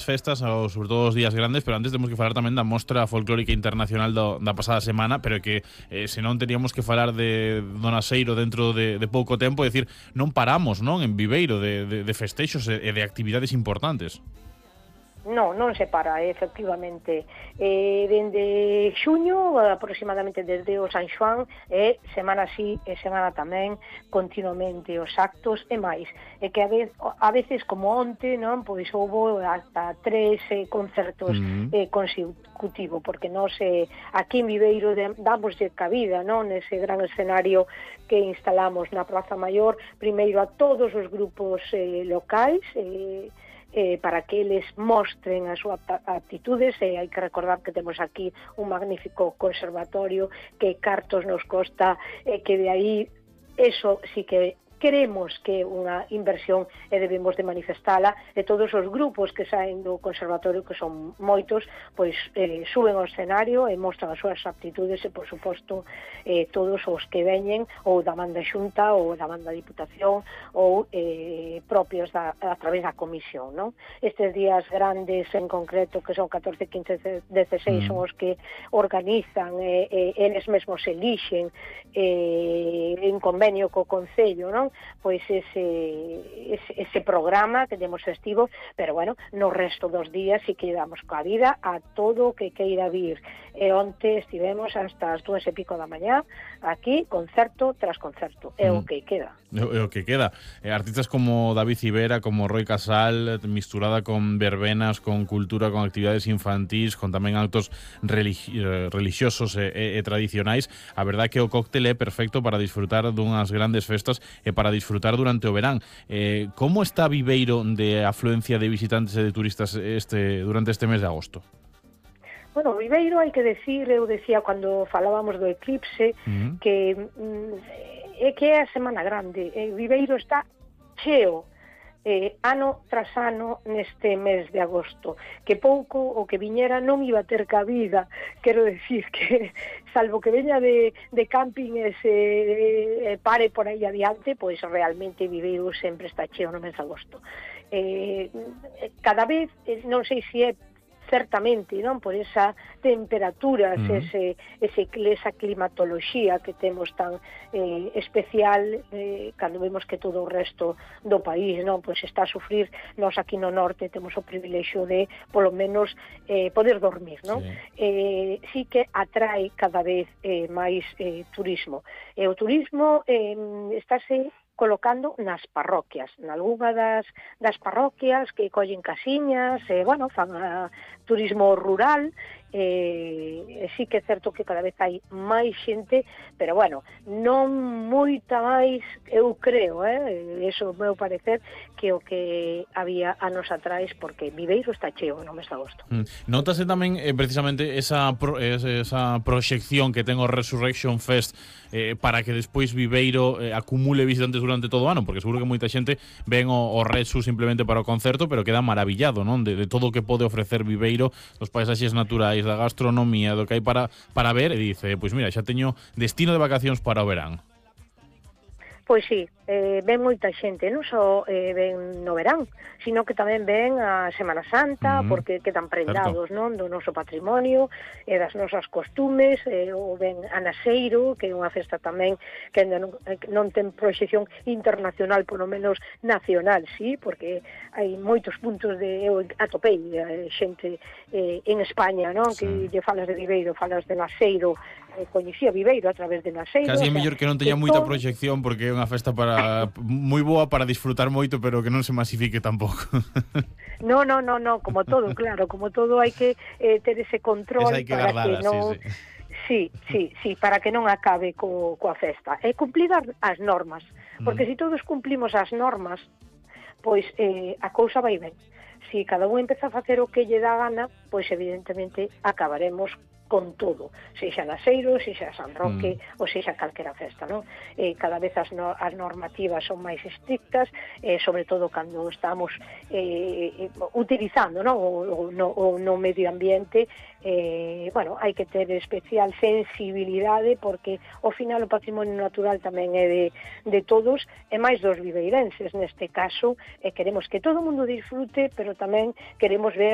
festas, ou sobre todo os días grandes, pero antes temos que falar tamén da Mostra Folclórica Internacional da pasada semana, pero que senón teríamos que falar de Donaseiro dentro de pouco tempo, é dicir, non paramos, non, en Viveiro de festexos e de actividades importantes. Non se para, efectivamente. Dende xuño, aproximadamente desde o San Xoán, semana sí e semana tamén, continuamente os actos e máis. E que a veces, como onte, non, pois houve hasta 3 concertos consecutivos, porque nós aquí en Viveiro damoslle cabida, non, nese gran escenario que instalamos na Praza Maior, primeiro a todos os grupos locais, para que eles mostren as súas aptitudes, e hai que recordar que temos aquí un magnífico conservatorio que cartos nos costa, que de aí eso sí que queremos que é unha inversión e debemos de manifestala, e todos os grupos que saen do conservatorio, que son moitos, pois suben ao escenario e mostran as súas aptitudes e, por suposto, todos os que veñen ou da banda xunta ou da banda diputación ou propios a través da comisión, non? Estes días grandes en concreto, que son 14, 15, 16, son os que organizan, eles mesmos elixen en convenio co Concello, non? Pois ese programa que temos festivo, pero bueno, no resto dos días si que damos coa vida a todo o que queira vir. E onte estivemos hasta as 2:00 da mañá aquí, concerto tras concerto, é o que queda. É o que queda. Artistas como David Civera, como Roy Casal, misturada con verbenas, con cultura, con actividades infantís, con tamén actos religiosos e tradicionais. A verdade é que o cóctel é perfecto para disfrutar dunhas grandes festas e para disfrutar durante o verán. Como está Viveiro de afluencia de visitantes e de turistas durante este mes de agosto? Bueno, Viveiro, hai que decir, eu decía cando falábamos do eclipse, que é a semana grande. Viveiro está cheo, ano tras ano neste mes de agosto, que pouco o que viñera non iba a ter cabida. Quero decir que, salvo que veña de camping e se pare por aí adiante, pois realmente Viveiro sempre está cheo no mes de agosto. Cada vez, non sei se é certamente, non, por esa temperatura, esa climatoloxía que temos tan especial, cando vemos que todo o resto do país, non, pois está a sufrir. Nós aquí no norte temos o privilexio de, polo menos, poder dormir, non? Sí que atrae cada vez máis turismo. E o turismo estáse colocando nas parroquias, nalgúna das parroquias que collen casiñas, bueno, fan turismo rural, sí que é certo que cada vez hai máis xente, pero bueno, non moita máis, eu creo, eso é o meu parecer, que o que había anos atrás, porque Viveiro está cheo no mes de agosto. Notase tamén precisamente esa proxección que ten o Resurrection Fest para que despois Viveiro acumule visitantes durante todo o ano, porque seguro que moita xente ven o Resu simplemente para o concerto, pero queda maravillado, non, de todo o que pode ofrecer Viveiro, dos paisaxes naturais, da gastronomía, do que hai para ver, e dice, pois mira, xa teño destino de vacacións para o verán. Pois sí, ven moita xente, non só ven no verán, sino que tamén ven a Semana Santa, porque quedan prendados, non, do noso patrimonio e das nosas costumes, ou ven a Naseiro, que é unha festa tamén que non ten proxección internacional, polo menos nacional, sí, porque hai moitos puntos eu atopei xente en España, non, que lle falas de Viveiro, falas de Naseiro, coñecía Viveiro a través de Naseiro. Casi é mellor que non teña moita proxección, porque é unha festa moi boa para disfrutar moito, pero que non se masifique tampouco. No, como todo, claro, como todo hai que ter ese control para que non... Sí, para que non acabe coa festa. E cumplir as normas, porque se todos cumplimos as normas, pois a cousa vai ben. Se cada un empeza a facer o que lle dá gana, pois evidentemente acabaremos con todo, sexa Naseiro, sexa San Roque, ou sexa calquera festa, non? Cada vez as normativas son máis estrictas, sobre todo cando estamos utilizando, non? O no medio ambiente, bueno, hai que ter especial sensibilidade porque ao final o patrimonio natural tamén é de todos e máis dos viveirenses neste caso, queremos que todo o mundo disfrute, pero tamén queremos ver